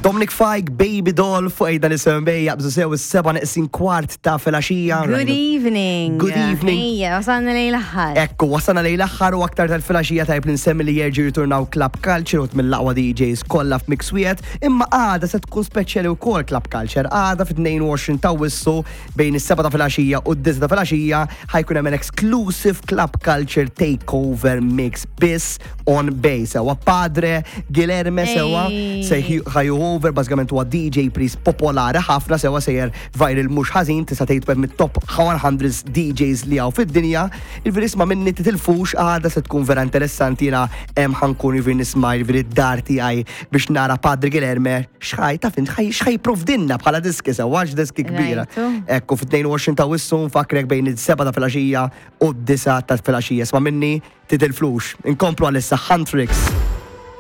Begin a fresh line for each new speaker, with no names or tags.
Dominic Fike, Baby Doll, fuq ejda li seven bej, jaqbżu sew is-seba neqsin kwart ta' filgħaxija.
Good evening.
Good evening.
Ejja, wasalna lejn l-aħħar.
Ekku, wasalna lejn l-aħħar u aktar tal-filgħaxija tajb li nsemmi li jerġgħu jirturnaw Club Culture u mill-aqwa DJs kollha f'mix wieħed, imma għada se tkun speċjali wkoll Club Culture. Għada fit-22 ta' Awwissu bejn is-seba ta' filgħaxija u d-disa ta' filgħaxija ħajkun hemm an exclusive Club Culture Takeover Mix biss on Bay. Sewa Padre Guilherme sewa se ħaju over bażikament huwa DJ Priest popolari ħafna sewa sejjer viral mhux ħażin tista' tgħid wieħed mit-top 100 DJs li hawn fid-dinja. Il-veri isma' minni titilfux għada se tkun vera interessanti jiena hemm ħankun jiġifieri nisma' jiġifieri d-dar tiegħi biex nara Padre Guilherme x'ħaj taf int x'ħaj jipprovdilna bħala diski sewa għax diski kbira. Ekku fit-22 ta' Awwissu nfakkrek bejn is-seba' ta' filgħaxija u d-disa' ta' filgħaxija. Isma' minni titilfux. Inkomplu għalissa Huntrix.